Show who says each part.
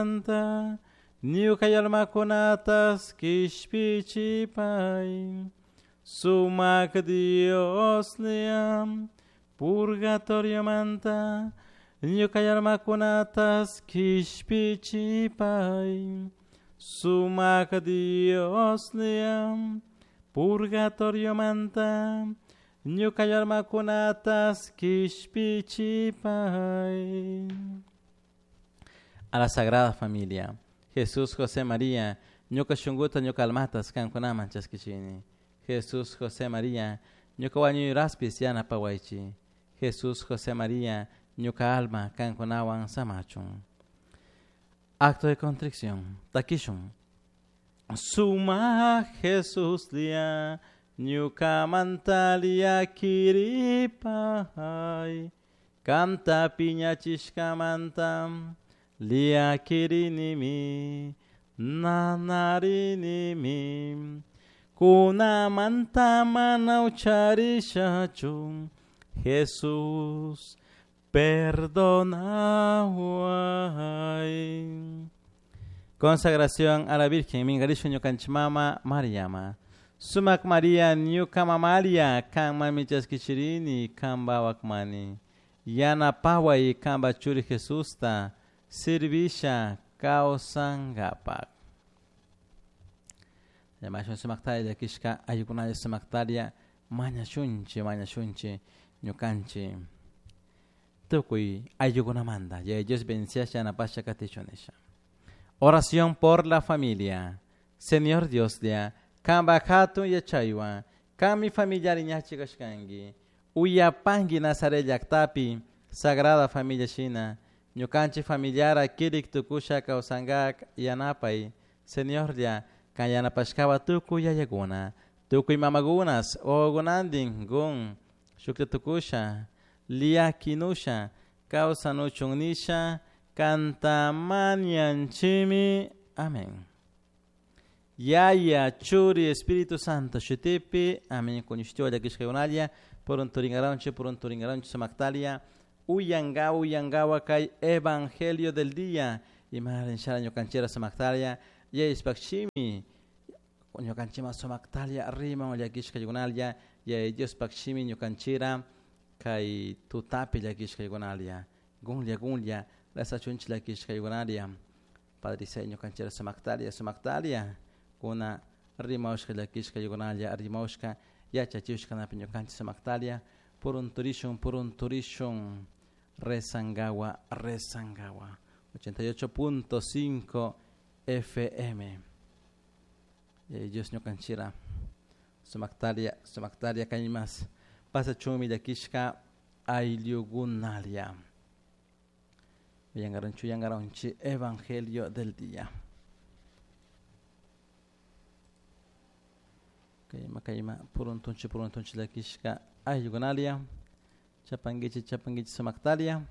Speaker 1: Purgatoriomanta ñuka almakunatas kishpichipay. Sumak Dioslla purgatoriomanta ñuka almakunatas kishpichipay. Sumak Dioslla purgatoriomanta ñuka almakunatas kishpichipay. A la Sagrada Familia, Jesús, José, María, ñuka shunkuta ñuka almatas kankunaman chaskichini. Jesús, José, María, ñuka wañuyraspis yanapawaychi. Jesús, José, María, ñuka alma kankunawan samachun. Acto de contrición. Takishun. Suma Jesús lia ñukamanta llakiripay. Kanta piñachishkamanta llakirinimi nanarinimi. Kunamanta mana ucharishachu Jesús perdonaway. Consagración a la Virgen Mingarisho ñukanchik mama Mariama. Sumak María ñuka mamaria kanmanmi chaskichirini kanpa wakmani. Yanapaway kanpa churi Jesusta sirvisha kawsankapak. Llamashun sumaktaria llakishka ayllukunalla sumaktaria mañashunchik mañashunchik ñukanchik tukuy ayllukunamanta. Yaya Dios bendiciasha yanapasha katichun nisha. Oración por la familia. Señor Dioslla, kanpa hatun yachaywan, kanmi familiari ñachi kashkanki. Uyapanki Nazaret llaktapi, Sagrada Familia shina, ñukanchik familiara kirik tukusha kawsankak yanapay. Señorlla, kan yanapashkawa tukuy yayakuna, tukuy mamakunas, wawakunantin gun, shuklla tukusha, llakinusha, kawsanuchun nisha, kanta mañanchimi. Amén. Yaya, Churi, Espíritu Santo, shutipi, amén. Kuñushtiwa llakishkakunalla, purunturinkaranchik, purunturinkaranchik sumaktalia, uyangawa, uyangawa kay Evangelio del día. Imarin shara ñukanchira sumaktalia, Yayishpak shimi, ñukanchima sumaktalia, riman llakishkakunalla, Yaya Diospak shimi ñukanchira, kay tutapi llakishkakunalla, gunlla, gunlla, rasachunchik llakishkakunalla. Padre Isai ñukanchira sumaktalia, sumaktalia, kuna rimawshka llakishkakunalla, rimawshka yachachishkanapi ñukanchik sumaktalia, purunturishun, purunturishun, rezangawa, rezangawa. 88.5 FM. Dios ñukanchira sumaktalia, sumaktalia kaymas pasachunmi llakishka ayllukunalia. Yangaranchu, yangaranchi, Evangelio del día. Kayma, kayma, puruntunchi, puruntunchi llakishka ayllukunalia. Chapanguichi, chapanguichi sumaktalia.